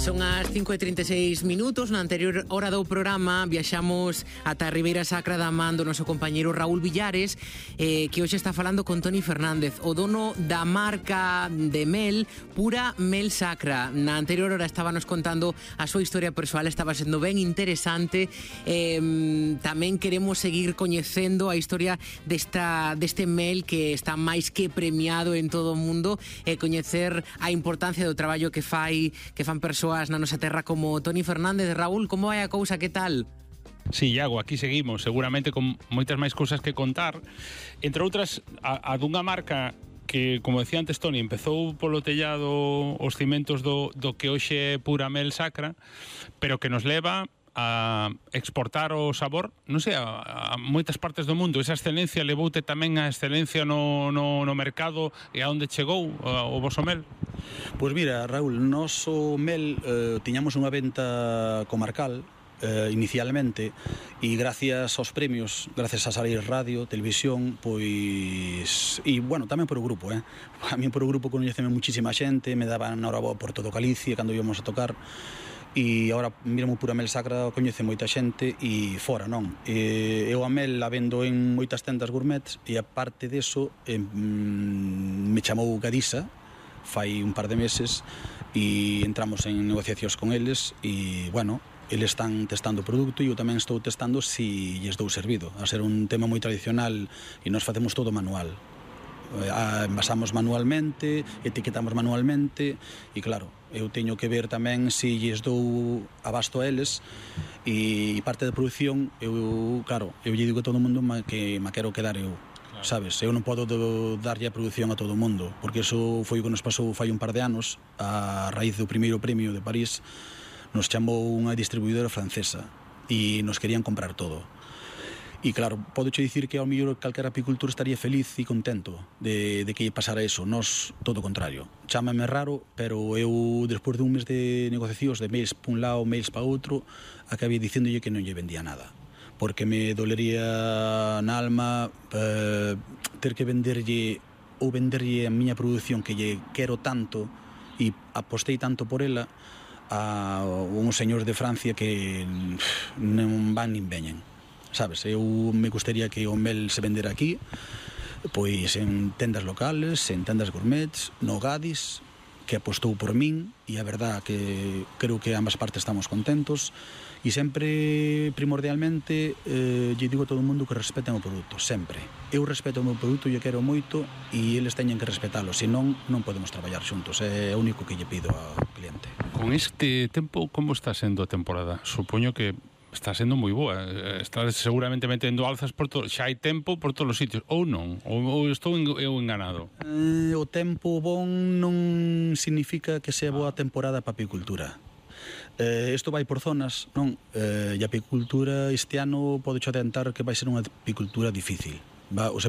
Son as 5:36 minutos. Na anterior hora do programa viaxamos ata a Ribeira Sacra da man do noso compañeiro Raúl Villares, que hoxe está falando con Toni Fernández, o dono da marca de mel Pura Mel Sacra. Na anterior hora estábanos contando a súa historia persoal, estaba sendo ben interesante. Tamén queremos seguir coñecendo a historia deste mel que está máis que premiado en todo o mundo, e coñecer a importancia do traballo que fan persoas na nosa terra como Toni Fernández. Raúl, como vai a cousa, que tal? Sí, Iago, aquí seguimos, seguramente con moitas máis cousas que contar. Entre outras, a dunha marca que, como decía antes Toni, empezou polo tellado os cimentos do que hoxe é Pura Mel Sacra, pero que nos leva a exportar o sabor, non sei, a moitas partes do mundo. Esa excelencia levoute tamén a excelencia no mercado e a onde chegou o voso mel? Pois mira, Raúl, noso mel tiñamos unha venta comarcal inicialmente, e gracias aos premios, gracias a salir radio, televisión, pois, e bueno, tamén por o grupo, a mí por o grupo coñeceme muchísima xente, me daban na hora boa por todo Galicia cando íbamos a tocar. E agora mesmo Pura Mel Sacra coñece moita xente e fora, non? Eu a mel a vendo en moitas tendas gourmets, e aparte deso me chamou Gadisa fai un par de meses e entramos en negociacións con eles e, bueno, eles están testando o produto e eu tamén estou testando se lles dou servido. A ser un tema moi tradicional e nós facemos todo manual. Envasamos manualmente, etiquetamos manualmente e, claro, eu teño que ver tamén se lles dou abasto a eles, e parte da produción eu lle digo a todo o mundo que me quero quedar eu, sabes? Eu non podo darlle a produción a todo o mundo, porque iso foi o que nos pasou fai un par de anos. A raíz do primeiro premio de París nos chamou unha distribuidora francesa e nos querían comprar todo. E claro, podoche dicir que ao mellor calquera apicultor estaría feliz e contento de que lle pasara eso. Nos, todo o contrario. Chámame raro, pero eu, despois de un mes de negociacións, de mails pa un lado, mails pa outro, acabei dicéndolle que non lle vendía nada. Porque me dolería na alma ter que venderlle a miña produción que lle quero tanto e apostei tanto por ela a uns señores de Francia que non van nin veñen. Sabes, eu me gustaría que o mel se vendera aquí, pois en tendas locales, en tendas gourmets, no Gadis, que apostou por min, e a verdad que creo que ambas partes estamos contentos, e sempre, primordialmente, lle digo a todo o mundo que respeten o produto, sempre. Eu respeto o meu produto, lle quero moito, e eles teñen que respetalo, senón non podemos traballar xuntos, é o único que lle pido ao cliente. Con este tempo, como está sendo a temporada? Supoño que está sendo moi boa, está seguramente metendo alzas por todo, xa hai tempo por todos os sitios, ou non? Ou estou eu enganado? O tempo bon non significa que sea boa temporada para a apicultura. Isto vai por zonas, non? E a apicultura este ano pode adiantar que vai ser unha apicultura difícil. Os